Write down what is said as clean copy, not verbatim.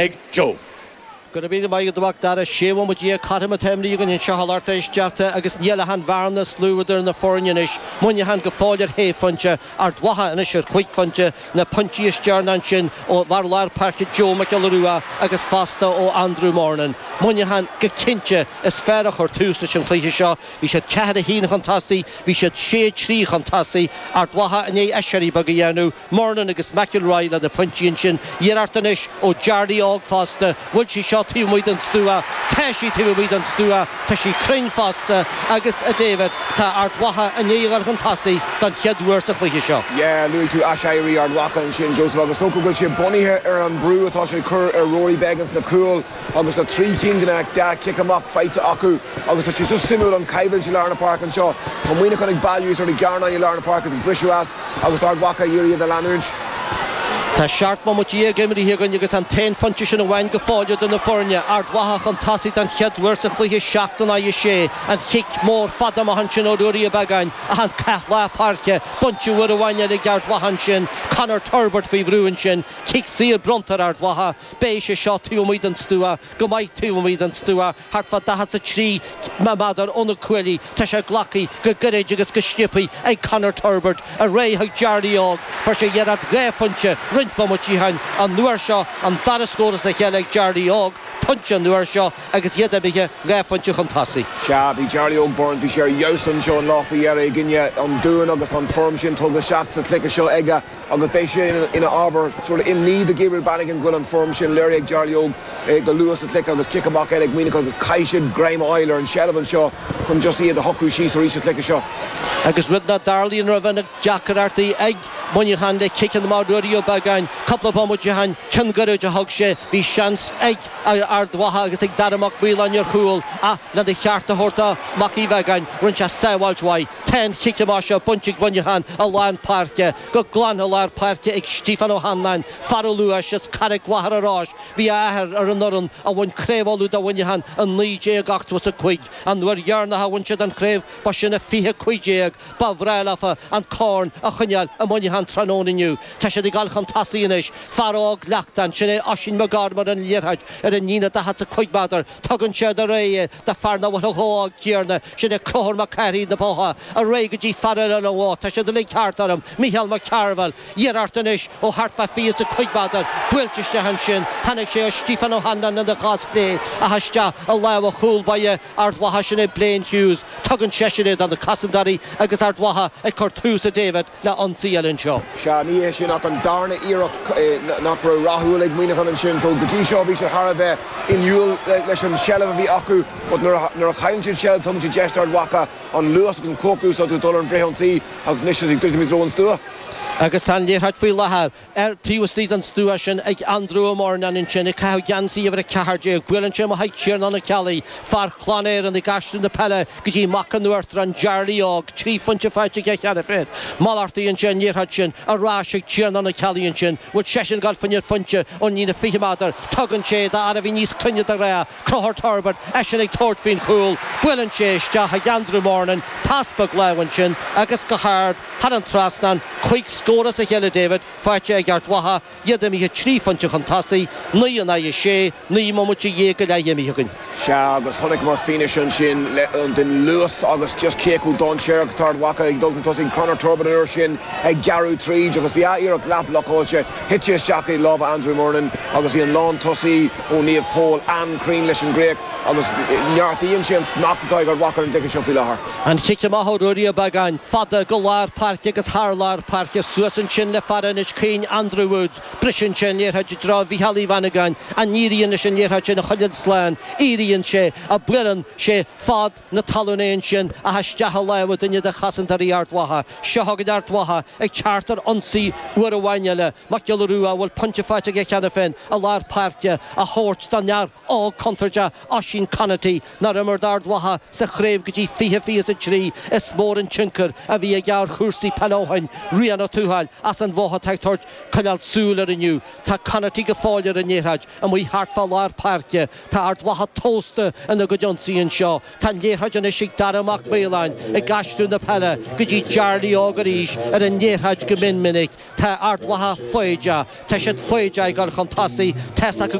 ag Joe. Go raibh míle maith agat a Mhac Dara. 16 bhomaite cothrom atá imrithe againn anseo a lucht éisteachta agus níl ach an bhearna is lú idir na foirne anois. Muineachán go fóill ar shé phointe, Ard Mhacha anois ar chúig phointe, na pointí is deireanaí ansin ó bhfear lár páirce Joe Mac Giolla Rua agus fosta ó Andrew Murnin. Muineachán go cinnte is fearr a chuir tús leis an chluiche seo. Bhí siad 4-1 chun tosaigh, bhí siad 6-3 chun tosaigh, Ard Mhacha i ndiaidh aiséirí beag a dhéanamh. Murnin agus McElroy le na pointí ansin. Iarracht anois ó Jarly Óg fosta. Bhfuil sí seo taobh amuigh den stua? Tá sí taobh amuigh den stua. Tá sí cruinn fosta agus, a David, tá Ard Mhacha i ndiaidh a dhul chun tosaigh don chéad uair sa chluiche seo. Yeah, luaigh tú aiséirí Ard Mhacha ansin, Joseph, agus is dócha go bhfuil sé bunaithe ar an brú atá siad ag cur ar Rory Beggan sna cúil agus tá trí cinn de na dá chic amach faighte acu agus tá sé so suimiúil an choimhlint i lár na páirce anseo. Tá Muineachán ag bailiú sort i gcearnáin i lár na páirce agus ag briseadh as. Agus Ard Mhacha ag iarraidh iad a leanúint. Tá 17 bomaite imithe againn agus an t-aon phointe sin amháin go fóill idir na foirne. Ard Mhacha chun tosaigh don chéad uair sa chluiche, 7 in aghaidh 6. An chic mór fada amach ansin ó Ruairí Ó Beagáin ach an cath lár páirce bainte uair amháin eile ag Ard Mhacha ansin. Conor Turbitt faoi bhrú ansin. Cic saor bronnta ar Ard Mhacha. Beidh sé seo taobh amuigh den stua, go maith taobh amuigh den stua. Thart fá 43 méadar ó na cuaillí, tá sé glactha go gairid agus go sciobtha ag Conor Turbitt, ar aghaidh chuig Jarly Óg. Fuair sé iarracht dhá phointe roinnt bomaití ó shin, an uair seo an dara scór as a chéile ag Jarly Óg, pointe an uair seo agus iad imithe dhá phointe chun tosaigh. Sea, bhí Jarly Óg Burns, bhí sé ar fheabhas anseo an lá faoi dheireadh i gcoinne an Dúin agus tá an form sin tugtha isteach sa chluiche seo aige. Agus beidh sé ina ábhar sort of imní do Gabriel Bannigan go bhfuil an form sin léirithe ag Jarly Óg go luath sa chluiche agus cic amach eile ag Muineachán agus caithfidh siad greim a fháil ar an tseilbh anseo chun just iad a shocrú síos arís sa chluiche seo. Agus rud nach dtarlaíonn roimh na deacrachtaí ag Muineachán le ciceanna amach Ruairí Ó Beagáin, cúpla bomaite ó shin, ceann gairid a thug sé, bhí seans ag Ard Mhacha agus ag Dara Mac Maoláin ar chúl ach lena cheart a thabhairt do Mac Uí Bheagáin, rinne sé sábháilt mhaith. Tá an chic amach seo bainte ag Muineachán i lár páirce, go glan i lár páirce ag Stiofán Ó hAnnáin, fear an Luais as Carraig Mhachaire Rois. Bhí a athair ar an fhoireann a bhain Craobh Uladh do Mhuineachán i 1985. An uair dheireanach a bhain siad an chraobh ba sin i 2015. Ba bhreá leofa an corn a choinneáil i Muineachán tráthnóna inniu. Tá siad ag dul chun tosaigh anois. Fear óg Leachtáin, sin é Oisín McGorman ar an liathróid ar an líne 45 méadar. Tugann sé ar aghaidh é do fear nach bhfuil chomh hóg céanna, sin é Conchúr Mac Cárthaigh na Botha, ar aghaidh go dtí fear eile an Bhoth, tá siad uilig thart orm, Mícheál Mac Cearbhaill, iarracht anois ó thart fá 25 méadar, buailte isteach ansin, tháinig sé ó Stiofán Ó hAnnáin ina chos chlé ach isteach i lámha chúl báire Ard Mhacha, sin é Blaine Hughes, tugann seisean é do na cosantóirí agus Ard Mhacha ag cur tús a David le ionsaí eile anseo. Sea, ní hé sin ach an darna iarracht nach raibh rathúil ag Muineachán ansin. So, go dtí seo bhí siad thar a bheith inniúil leis an tseilbh a bhí acu but nuair a chailleann siad seilbh tugann siad deis d'Ard Mhacha an luas agus an chumhacht a úsáid agus dul ar an bhfrithionsaí agus anois ag druidim i dtreo an stua. Agus tá an liathróid faoi láthair ar taobh istigh den stua sin ag Andrew Ó Murnáin ansin ag caitheamh geansaí uimhir 14. Buaileann sé amach chuig Tiarnán Ó Ceallaigh, fear Chlann Éireann ag aistriú na peile go dtí mac an Uachtaráin, Jarly Óg, 3 phointe faighte aige cheana féin. Malartaíonn sé an liathróid sin ar ais ag Tiarnán Ó Ceallaigh ansin. Bhfuil seisean ag dul fá choinne pointe ón líne 20 méadar. Tugann sé do fhear a bhí níos cruinne de ghnáth, Conchúr Turbitt, eisean ag tabhairt faoin chúl. Buaileann sé isteach ag Andrew Murnin, pas beag láimhe ansin agus go hard thar an trasnán, 5 scór as a chéile David, faighte ag Ard Mhacha, iad imithe 3 phointe chun tosaigh, 9 in aghaidh 6, 19 mbomaite go leith imithe againn. Sea, agus chonaiceamar fianaise ansin den luas agus just cé chomh dainséarach is atá Ard Mhacha ag dul chun tosaigh. Conor Turbitt an uair sin ag gearradh tríd agus bhí a iarracht leath blocáilte, thit sé isteach i lámha Andrew Murnin agus bhí an lántosaí ó Naomh Pól an-chruinn leis an gcríoch agus neartaíonn sé an smacht atá ag Ard Mhacha ar an gcluiche seo faoi láthair. An chic amach ó Ruairí Ó Beagáin, fada go lár páirce agus thar lár páirce, suas ansin le fear Inis Caoin, Andrew Woods. Briseann sé an liathróid i dtreo Mhícheál Uí Mhanagáin. An éiríonn leis an liathróid sin a choinneáil slán? Éiríonn sé, ach buaileann sé fad na talún é ansin ach isteach i lámha duine de chosantóirí Ard Mhacha. Seo chugainn Ard Mhacha ag teacht ar ionsaí uair amháin eile. Mac Giolla Rua, a bhfuil pointe faighte aige cheana féin i lár páirce, á thabhairt don fhear óg contúirteach Oisín Conaty, nár imir d'Ard Mhacha sa chraobh go dtí 2023. Is mór an tionchar a bhí aige ar chúrsaí peile ó shin. Rian Ó Tuathail as an Bhoth atá ag tabhairt coinneáil súil air inniu. Tá Conaty go fóill ar an liathróid, amuigh thart fá lár páirce. Tá Ard Mhacha tósta ina gcuid ionsaí anseo. Tá an liathróid anois ag Dara Mac Maoláin ag aistriú na peile go dtí Jarly Óg arís ar an liathróid go mion minic. Tá Ard Mhacha foighdeach. Tá siad foighdeach ag dul chun tosaigh. Tá's acu go.